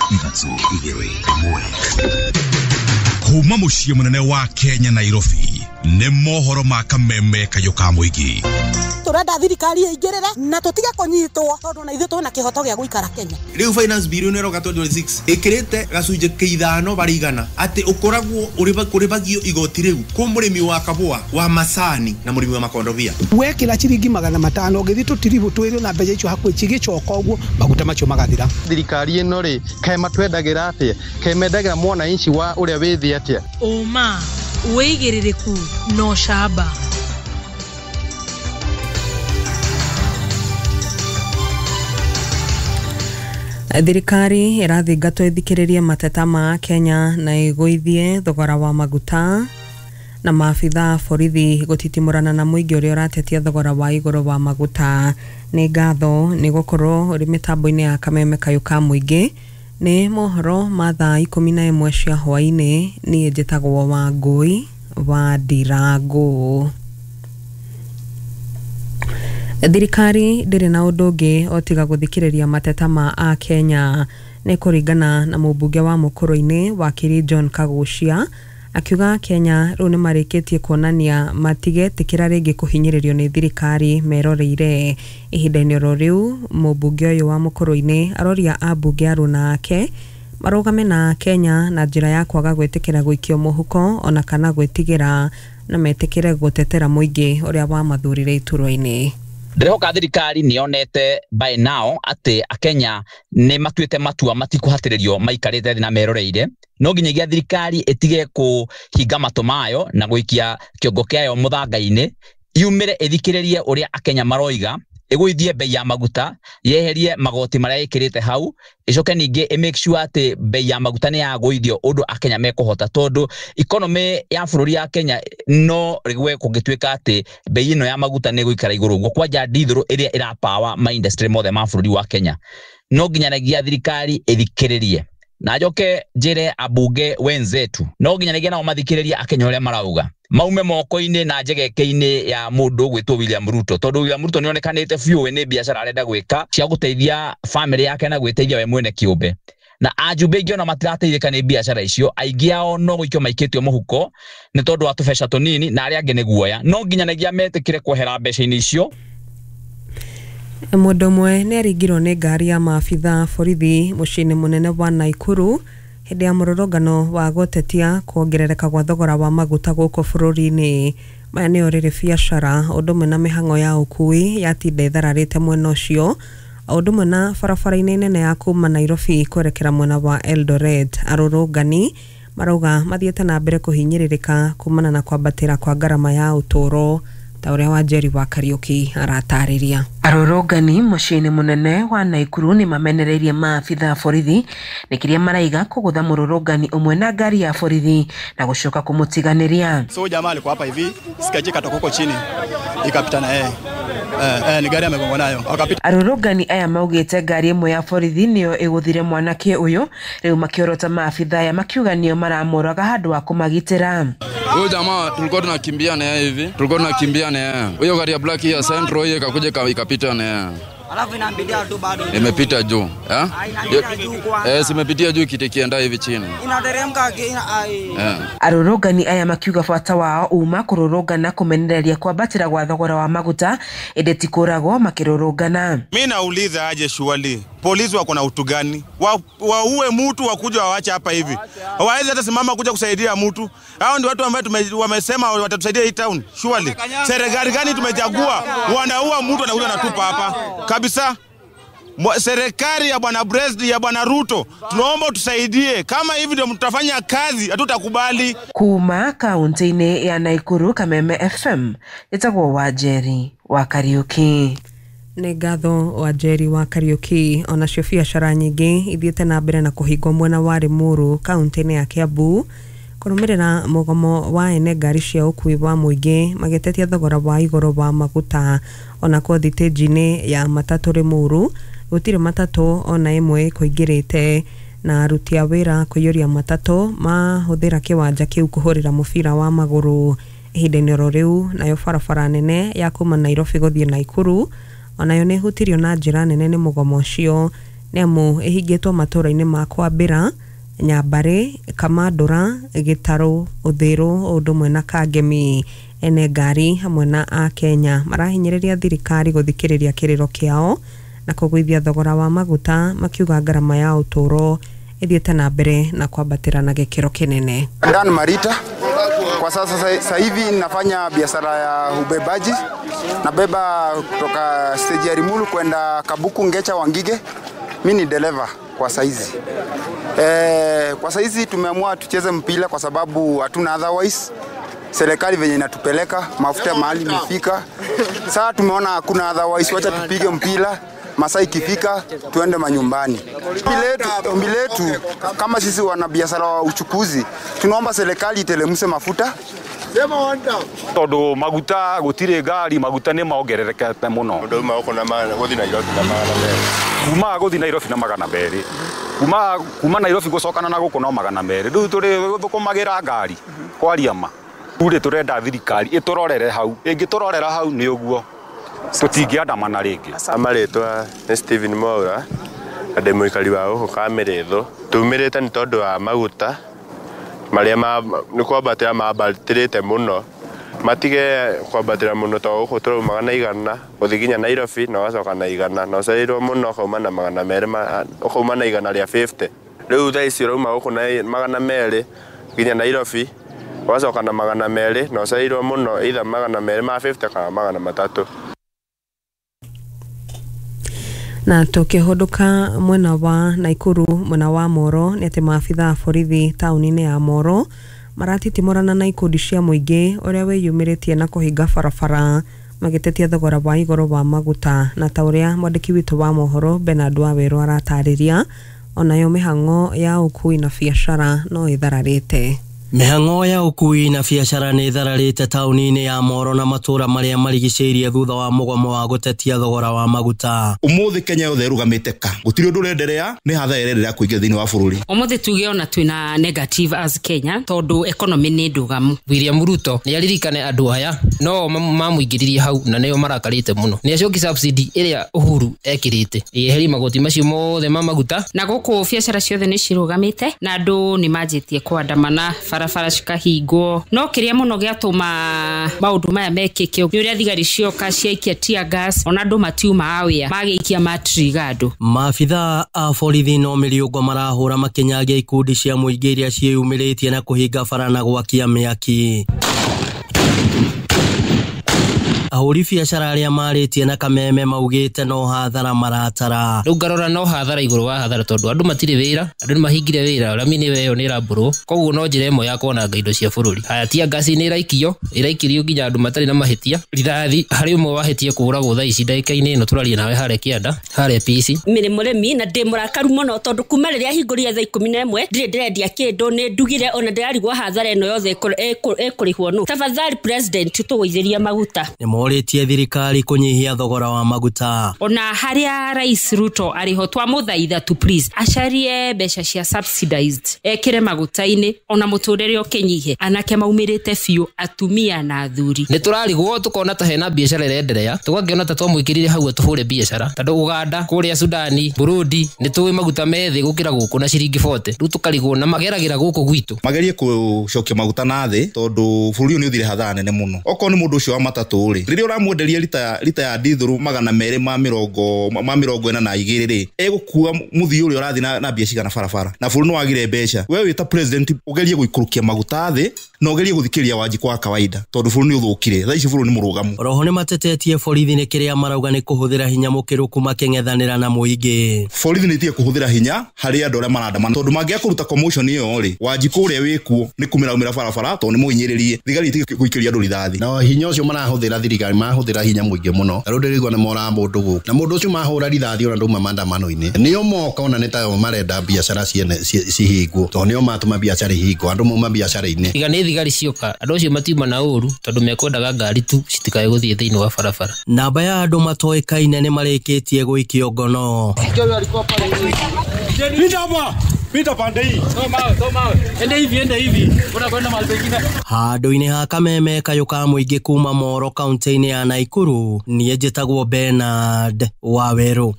3 2 1. Kuma muciĩ mũnene wa Kenya Nairobi nĩ mohoro ma kameme kayũ ka mũingĩ. Turenda thirikari ĩingĩrĩre na tũtige kũnyitwo tondũ na ithuĩ twĩna kĩhoto gĩa gũikara Kenya. Rĩu finance bill nĩ ĩroka 2026 ĩkĩrĩte gacunjĩ kĩa 5 harĩ igana atĩ ũkoragwo ũrĩbagio igoti rĩu kũ mũrĩmi wa kabũa wa macani na mũrĩmi wa makondobia. Wekĩra ciringi 500 ũgĩthiĩ tũtiribũ twĩrĩ na mbeca icio hakuhĩ cigĩcoka ũguo maguta macio magathira. Thirikari ĩno rĩ kaĩ matwendagĩra atĩa, kaĩ mendagĩra mwananchi wa ũrĩa wĩ thĩ atĩa? Ũma, wĩigĩrĩrĩku na ũcamba. Thirikari ĩrathingatwo ĩthikĩrĩrie mateta ma Kenya na ĩgũithie thogora wa maguta na maabitha a borithi gũtitimũrana na mũingĩ ũrĩa ũratetia thogora wa igũrũ wa maguta. Nĩ ngatho nĩ gũkorwo ũrĩ mĩtambo-inĩ ya kameme kayũ ka mũingĩ. Nĩ mohoro ma thaa 11 cia hwaĩ-inĩ. Niĩ njĩtagwo Wangũi wa Ndirangũ. Thirikari ndĩrĩ na ũndũ ũngĩ o tiga gũthikĩrĩria mateta ma Akenya. Nĩ kũringana na mũmbunge wa Mũkũrũ-inĩ wakiri John Kagucia akiuga Kenya rĩu nĩ marĩkĩtie kuonania matigetĩkĩra rĩngĩ kũhinyĩrĩrio nĩ thirikari meroreire. Ihinda-inĩ oro rĩu mũmbunge ũyũ wa Mũkũrũ-inĩ aroria ambunge aruna ake marũgame na Kenya na njĩra ya kwaga gwĩtĩkĩra gũikio mũhuko ona kana gwĩtigĩra na metĩkĩre gũtetera mũingĩ ũrĩa wamathurire iturwa-inĩ. Ndĩrehoka thirikari nĩ yonete by now atĩ Akenya nĩ matuĩte matua matikũhatĩrĩrio maikarĩte thĩ na meroreire. No nginyagia thirikari ĩtige kũhinga matũ mayo na gũikia kĩongo kĩayo mũthanga-inĩ, yumĩre ĩthikĩrĩrie ũrĩa Akenya maroiga, ĩgũithie bei ya maguta, yeherie magoti marĩa ĩkĩrĩte hau, ĩcoke ningĩ ĩ make sure atĩ bei ya maguta nĩ yagũithio ũndũ Akenya mekũhota, tondũ economy ya bũrũri ya Kenya no rĩgwe kũngĩtuĩka atĩ bei ĩno ya maguta nĩ ĩgũikara igũrũ ũguo, kwanja ndithũrũ ĩrĩa ĩrapawa ma industry mothe ma bũrũri wa Kenya. No nginyanagia thirikari ĩthikĩrĩrie na njoke njĩre ambunge wenzetu, no nginyanagia nao mathikĩrĩrie Akenya ũrĩa marauga, maume moko-inĩ na njegeke-inĩ ya mũndũ ũgwĩtwo William Ruto, tondũ William Ruto nĩonekanĩte biũ we nĩ biacara arenda gwĩka cia gũteithia family yake na gwĩteithia we mwene kĩũmbe. Na ajumbe aingĩ ona matirateithĩka nĩ biacara icio, aingĩ ao no gũikio maikĩtio mũhuko nĩ tondũ wa tũbeca tũnini na arĩa angĩ nĩ guoya. No nginyanagia metĩkĩre kwehera mbeca-inĩ icio. Mũndũ ũmwe nĩ aringirwo nĩ ngari ya maabitha borithi mũciĩ-inĩ mũnene wa Naikuru hĩndĩ ya mũrũrũngano wa gũtetia kuongerereka gwa thogora wa maguta gũkũ bũrũri-inĩ. Maya nĩo rĩrĩ biacara ũndũ ũmwe na mĩhang'o ya ũkui yatinda ĩthararĩte mwena ũcio, ũndũ ũmwe na barabara-inĩ nene ya kuma Nairobi kwerekera mwena wa Eldoret. Arũrũngani marauga mathiĩte na mbere kũhinyĩrĩrĩka kumana na kwambatĩra kwa ngarama ya ũtũũro ta ũrĩa Wanjeri wa Kariũki aratarĩria. Arũrũngani mũciĩ-inĩ mũnene wa Naikuru nĩ mamenereirie maabitha a borithi nĩ kĩrĩa maraiga kũgũtha mũrũrũngani ũmwe na ngari ya borithi na gũcoka kũmũtiganĩria. So jamaa alikuwa hapa hivi, sikaje katoka huko chini ikapita na yeye. Ni gari amegongwa nayo. Akapita. Arũrũngani aya maugĩte ngari ĩmwe ya borithi nĩyo ĩgũthire mwanake ũyũ, rĩu makĩorota maabitha aya makiuga nĩo maramũraga handũ wa kũmagitĩra. Huyo jamaa tulikuwa tunakimbia na yeye hivi, tulikuwa tunakimbia na yeye. Huyo gari ya black ya Centro hiyo ikakuja ikapita na yeye. Alafu inambidia tu bado. Imepita juu, eh? Inapita juu kwanza. Simepitia juu kitikienda hivi chini. Inateremka ai. Arũrũngani aya makiuga bata wao uma kũrũrũngana kũmenereria kwambatĩra gwa thogora wa maguta ĩndĩ ti kũragwo makĩrũrũngana. Mimi nauliza aje shuali, polisi wako na utu gani? Waue mtu wakuja waache hapa hivi. Hawawezi hata simama kuja kusaidia mtu. Hao ndio watu ambao wamesema watatusaidia hii town. Shuali. Serikali gani tumechagua? Wanaua mtu anakuja anatupa hapa. Kabisa. Serikali ya bwana President ya bwana Ruto, tunaomba tusaidie. Kama hivi ndio mtafanya kazi, hatutakubali. Kuma kaunti-inĩ ya Naikuru, Kameme FM, ĩtagwo Wanjeri wa Kariũki. Nĩ ngatho Wanjeri wa Kariũki. Onacio biacara nyingĩ ithiĩte na mbere na kũhingwo mwena wa Limuru kaunti-inĩ ya Kiambu kũrũmĩrĩra mũgomo wa ene ngari cia ũkui wa mũingĩ magĩtetia thogora wa igũrũ wa maguta. Onakuo thitĩnji-inĩ ya matatũ Limuru gũtirĩ matatũ ona ĩmwe kũingĩrĩte na aruti a wĩra kũiyũria matatũ mahũthĩra kĩwanja kĩu kũhũrĩra mũbira wa magũrũ. Ihinda-inĩ oro rĩu nayo barabara nene ya kuma Nairobi gũthiĩ Naikuru onayo nĩ ĩhutirio na njĩra nene nĩ mũgomo ũcio. Nĩ amu ĩhingĩtwo matũũra-inĩ ma Kwambĩra, Nyambarĩ, Kamandũra, Gĩtarũ, Ũthĩrũ o ũndũ ũmwe na Kangemi. Ene ngari hamwe na Akenya marahinyĩrĩria thirikari gũthikĩrĩria kĩrĩro kĩao na kũgũithia thogora wa maguta, makiuga ngarama ya ũtũũro ĩthiĩte na mbere na kwambatĩra na gĩkĩro kĩnene. Dan Marita. Kwa sasa hivi nafanya biashara ya ubebaji. Nabeba kutoka stage ya Limuru kwenda Kabuku, Ngecha, Wangige. Mimi ni dereva kwa saizi. Kwa saizi tumeamua tucheze mpira kwa sababu hatuna otherwise. Serikali venye inatupeleka mafuta mahali imefika. Sasa tumeona hakuna otherwise, wacha tupige mpira. Masaa ikifika tuende manyumbani. Ombi letu kama sisi wanabiashara wa uchukuzi, tunaomba serikali itelemuse mafuta. Tondu maguta gutire ngari, maguta ni maongererekete muno. Ndu ma na magana guthi Nairobi na magana merĩ. Kuma guthi Nairobi na magana merĩ. Kuma Nairobi gucokana na guku no magana merĩ. Riu turi thukumagira ngari kwaria ma. Ure turenda thirikari iturorere hau. Ingĩtũrorera hau ni uguo tũtingĩandamana rĩngĩ. Amarĩtwa nĩ Steven Mwaura na ndĩ mũikari wa gũkũ Kamĩrĩthũ. Tumĩrĩte nĩ tondũ wa maguta marĩa nĩ kwambatĩra mambatĩrĩte mũno. Matige kwambatĩra mũno tondũ gũkũ tũraumaga na 100 gũthiĩ nginya Nairobi na ũgacoka na 100 na ũcereirwo mũno ũkauma na magana merĩ, ũkauma na 150. Rĩu thaa ici ũrauma gũkũ na 200 nginya Nairobi ũgacoka na 200 na ũcereirwo mũno either 250 kana 300. Na tukihunduka mwena wa Naikuru mwena wa Moro ni ati maabitha a borithi tauni-inĩ ya Moro maratitimũrana na ikundi cia mũingĩ ũrĩa wĩyumĩrĩtie na kũhinga barabara magĩtetia thogora wa igũrũ wa maguta, na ta ũrĩa mwandĩki witũ wa mohoro Bernard Wawerũ aratarĩria, onayo mĩhang'o ya ũkui na biacara no ĩthararĩte. Mĩhang'o ya ũkui na biacara nĩ ĩthararĩte tauni-inĩ ya Moro na matũũra marĩa marigicĩirie thutha wa mũgomo wa gũtetia thogora wa maguta. Ũmũthĩ Kenya yothe ĩrũgamĩte ka gũtirĩ ũndũ ũrenderea, nĩ hathara ĩrenderea kũingĩra thĩinĩ wa bũrũri. Ũmũthĩ tuge ona twĩna negative as Kenya tondũ economy nĩ ndũgamu. William Ruto nĩ aririkane andũ aya no mamũingĩririe hau na nĩo marakarĩte mũno. Nĩ acoki subsidy ĩrĩa Uhuru ekĩrĩte ĩyeherie magoti macio mothe ma maguta. Na gũkũ biacara ciothe nĩ cirũgamĩte na andũ nĩ manjĩtie kwandamana, barabara cikahingwo. No kĩrĩa mũno gĩatũma maũndũ maya mekĩke nĩ ũrĩa thigari cioka ciaikia tear gas, ona andũ matiuma wĩra magĩikia matriga andũ. Maabitha a borithi no mĩriũngo marahũra makĩnyagia ikundi cia mũingĩ iria ciĩyumĩrĩtie na kũhinga bara na gwakia mĩaki. Ahũri biacara arĩa marĩtie na kameme maugĩte no hathara maratara. Rĩu ngarora no hathara igũrũ wa hathara tondũ andũ matirĩ wĩra, andũ nĩ mahingire wĩra, rami nĩ ĩyo nĩ ĩrambũrwo, koguo no njĩra ĩmwe ya kwananga indo cia bũrũri. Haya tear gas nĩ ĩraikio, ĩraikirio nginya andũ matarĩ na mahĩtia. Rithathi harĩ ũmwe wahĩtie kũũragwo thaa ici ndagĩka-inĩ ĩno tũraria nawe harĩa kĩanda, harĩa PC. Nĩ mũrĩmi na ndĩ mũrakaru mũno tondũ kuma rĩrĩa hingũrire thaa 11 ndirĩ ndĩrendia kĩndũ, nĩ ndugire ona ndĩrarigwo hathara ĩno yothe ĩkũrĩhwo nũ. Tafadhali president tũgũithĩrie maguta. Nĩmorĩtie thirikari kũnyihia thogora wa maguta. Ona harĩa Rais Ruto arĩho twamũthaitha tu please acarie mbeca cia subsidized ekĩre maguta-inĩ ona mũtũrĩre ũkĩnyihe. Anake maumĩrĩte biũ, atumia na athuri. Nĩ tũrarigwo tũkona ta hena biacara ĩrenderea, tũgakĩona ta twamwĩkĩrire hau tũhũre biacara tondũ Uganda kũrĩa Sudani Burundi nĩ tũĩ maguta me thĩ gũkĩra gũkũ na ciringi 40. Rĩu tũkarigwo na mageragĩra gũkũ gwitũ. Magerie gũcokia maguta na thĩ tondũ bũrũri ũyũ nĩ ũthire hathara nene mũno. Okorwo nĩ mũndũ ũcio wa matatũ rĩ, rĩrĩa ũramwenderia rita ya dithũrũ 242 rĩ, egũkua mũthii ũrĩa ũrathiĩ na mbia cigana barabara, na bũrũri nĩ wagire mbeca. We wĩ ta president ũgerie gũikũrũkia maguta thĩ na ũgerie gũthikĩrĩria Wanjikũ wa kawaida tondũ bũrũri nĩ ũthũkire. Thaa ici bũrũri nĩ mũrũgamu. Oroho nĩ matetetie borithi nĩ kĩrĩa marauga nĩ kũhũthĩra hinya mũkĩrũku makĩng'ethanĩra na mũingĩ. Borithi nĩ itige kũhũthĩra hinya harĩ andũ arĩa marandamana tondũ mangĩaga kũruta commotion ĩyo rĩ, Wanjikũ ũrĩa wĩkuo nĩ kumĩraumĩra barabara tondũ nĩ mũhinyĩrĩrie. Thigari itige gũikĩria andũ rithathi. Na hinya ũcio marahũthĩra thirikari marahũthĩra hinya mũingĩ mũno. Rĩu ndĩraigua nĩ moraga mũndũ gũkũ. Na mũndũ ũcio mahũra rithathi ona ndauma maandamano-inĩ. Nĩo moka ona nĩ tayo marenda biacara ciene cihingwo tondũ nĩo matũma biacara ihingwo, andũ mauma biacara-inĩ. Tiga nĩ thigari cioka, andũ acio matiuma na ũru tondũ mekwendaga ngari tu citikae gũthiĩ thĩinĩ wa barabara. Namba ya andũ matoĩkaine nĩ marĩkĩtie gũikio ngono. Pita pande hii. Soma. Ende hivi. Unakwenda mahali pengine. Handũ-inĩ ha kameme kayũ ka mũingĩ kuma Moro kaunti-inĩ ya Naikuru, niĩ njĩtagwo Bernard Wawerũ.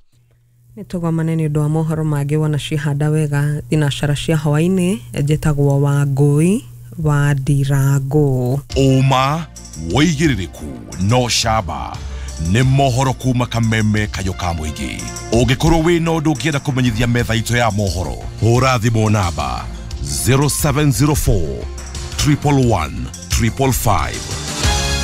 Nĩ tũgomane nĩ ũndũ wa mohoro mangĩ wona ciahanda wega thinacara cia hwaĩ-inĩ. Njĩtagwo Wangũi wa Ndirangũ. Ũma, wĩigĩrĩrĩku no camba nĩ mohoro kuma kameme kayũ ka mũingĩ. Ũngĩkorwo wĩna ũndũ ũngĩenda kũmenyithia metha itũ ya mohoro, hũra thimũ namba 0704 111 555.